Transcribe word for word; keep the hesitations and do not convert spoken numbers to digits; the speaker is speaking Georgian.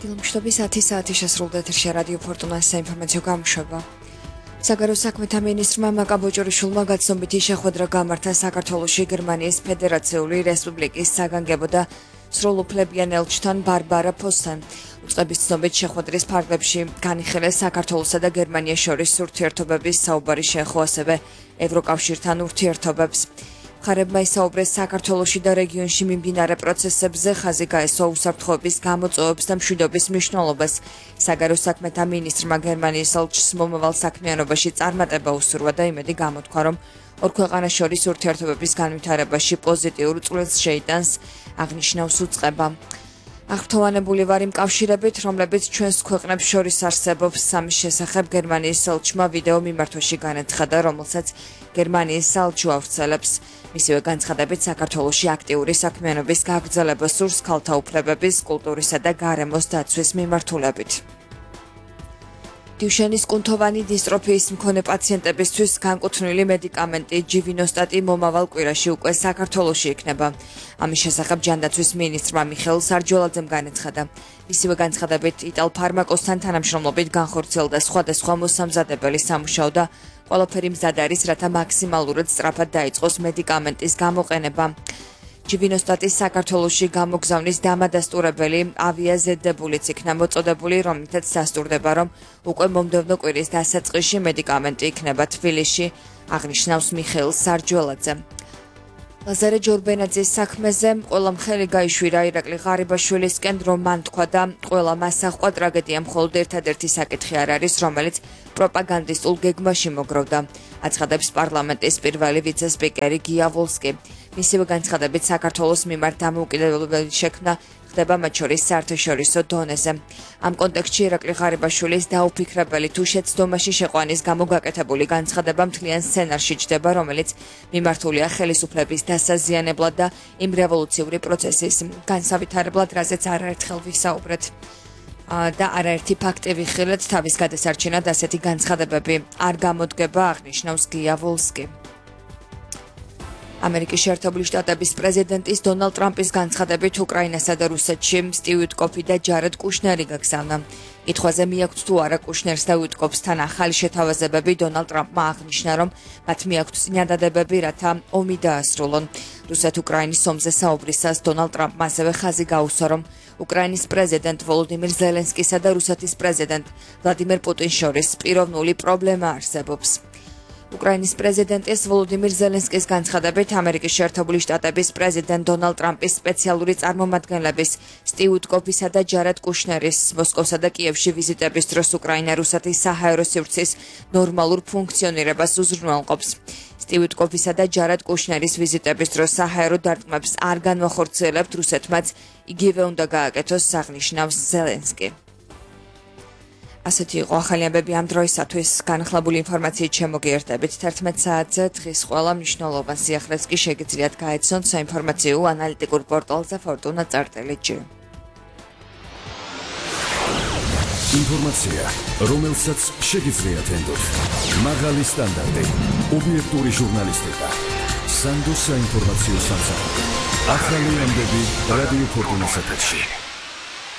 დილმშტობის ათი საათი შესრულდა ეთერში რადიო ფორტუნას საინფორმაციო გამოშვება. საგარეო საქმეთა მინისტრმა მაკაბოჭორიშვილმა გაცნობითი შეხვედრა გამართა საქართველოში გერმანიის ფედერაციული რესპუბლიკის საგანგებო და სრულუფლებიან ელჩთან ბარბარა ფოსთან. უწყების ცნობით შეხვედრის ფარგლებში განიხილეს საქართველოსა და გერმანიას შორის ურთიერთობების საუბარი შეეხო ასევე ევროკავშირთან ურთიერთობებს. მხარებმა ისაუბრეს საქართველოში და რეგიონში მიმდინარე პროცესებზე, ხაზი გაესვა უსაფრთხოების გამოწვევებს და მშვიდობის მნიშვნელობას. საგარეო საქმეთა მინისტრმა გერმანიის ელჩს მომავალ საქმიანობაში წარმატება უსურვა და იმედი გამოთქვა, რომ ორ ქვეყანას შორის ურთიერთობების განვითარებაში პოზიტიურ წვლილს შეიტანს, აღნიშნავს უწყება. აღფრთოვანებული ვარ იმ კავშირებით, რომლებიც ჩვენს ქვეყნებს შორის არსებობს. სამის შესახებ გერმანიის ელჩმა ვიდეო მიმართვაში განაცხადა, რომელსაც გერმანიის საელჩო ავრცელებს. მისივე განცხადებით საქართველოში აქტიური საქმიანობის გაგრძელება სურს ქალთა უფლებების, კულტურისა და გარემოს დაცვის მიმართულებით. დიუშენის კუნთოვანი დისტროფიის მქონე პაციენტებისთვის განკუთვნილი მედიკამენტი ჯივინოსტატი მომავალ კვირაში უკვე საქართველოში იქნება. ამის შესახებ ჯანდაცვის მინისტრმა მიხეილ სარჯველაძემ განაცხადა. მისივე განცხადებით იტალფარმაკოსთან თანამშრომლობით განხორციელდა სხვადასხვა მოსამზადებელი სამუშაო და ყველაფერი მზად არის, რათა მაქსიმალურად სწრაფად დაიწყოს მედიკამენტის გამოყენება. ჯივინოსტატის საქართველოში გამოგზავნის დამადასტურებელი ავიაზედდებულიც იქნა მოწოდებული, რომლითაც დასტურდება, რომ უკვე მომდევნო კვირის დასაწყისში მედიკამენტი იქნება თბილისში, აღნიშნავს მიხეილ სარჯველაძე. ლაზარე ჯორბენაძის საქმეზე ყველა მხელი გაიშვირა ირაკლი ღარიბაშვილისკენ, რომ მან თქვა და ყველა მას აჰყვა ტრაგედია მხოლოდ ერთადერთი საკითხი არ არის, რომელიც პროპაგანდისტულ გეგმაში მოგროვდა. აცხადებს პარლამენტის პირველი ვიცე-სპიკერი გია ვოლსკი. მისივე განცხადებით საქართველოს მიმართ დამოუკიდებლობელი შექმნა ხდება მათ შორის საერთაშორისო დონეზე. ამ კონტექსტში ირაკლი ღარიბაშვილის დაუფიქრებელი თუ შეცდომაში შეყვანის გამო გაკეთებული განცხადება მთლიან სცენარში ჯდება, რომელიც მიმართულია ხელისუფლების დასაზიანებლად და იმ რევოლუციური პროცესის განსავითარებლად, რაზეც არაერთხელ ვისაუბრეთ. და არაერთი ფაქტი ვიხილეთ, თავის გადასარჩენად ასეთი განცხადებები არ გამოდგება, აღნიშნავს გია ვოლსკი. ამერიკის შეერთებული შტატების პრეზიდენტის დონალდ ტრამპის განცხადებით უკრაინასა და რუსეთში სტივ უიტკოფი და ჯარედ კუშნერი გაგზავნა. კითხვაზე მიაქვთ თუ არა კუშნერს და უიტკოფსთან ახალი შეთავაზებები, დონალდ ტრამპმა აღნიშნა, რომ მათ მიაქვთ წინადადებები, რათა ომი დაასრულონ. რუსეთ-უკრაინის ომზე საუბრისას დონალდ ტრამპმა ასევე ხაზი გაუსვა, რომ უკრაინის პრეზიდენტ ვოლოდიმირ ზელენსკისა და რუსეთის პრეზიდენტ ვლადიმერ პუტინს შორის პიროვნული პრობლემა არსებობს. უკრაინის პრეზიდენტის ვოლოდიმირ ზელენსკის განცხადებით ამერიკის შეერთებული შტატების პრეზიდენტ დონალდ ტრამპის სპეციალური წარმომადგენლების სტივ უიტკოფისა და ჯარედ კუშნერის მოსკოვსა და კიევში ვიზიტების დროს უკრაინა რუსეთის საჰაერო სივრცის ნორმალურ ფუნქციონირებას უზრუნველყოფს. სტივ უიტკოფისა და ჯარედ კუშნერის ვიზიტების დროს საჰაერო დარტყმებს არ განვახორციელებთ, რუსეთმაც იგივე უნდა გააკეთოს, აღნიშნავს ზელენსკი. ასეთი იყო ახალი ამბები ამ დროისათვის. განახლებული ინფორმაციით შემოგიერთებით თერთმეტ საათზე. დღის ყველა მნიშვნელოვან სიახლეს კი შეგიძლიათ გაეცნოთ საინფორმაციო ანალიტიკურ პორტალზე ფორტუნა წარტელი ჯი. ინფორმაცია, რომელსაც შეგიძლიათ ენდოთ. მაღალი სტანდარტი, ობიექტური ჟურნალისტიკა. სანდო საინფორმაციო სამსახური. ახალი ამბები რადიო ფორტუნას ეთერში.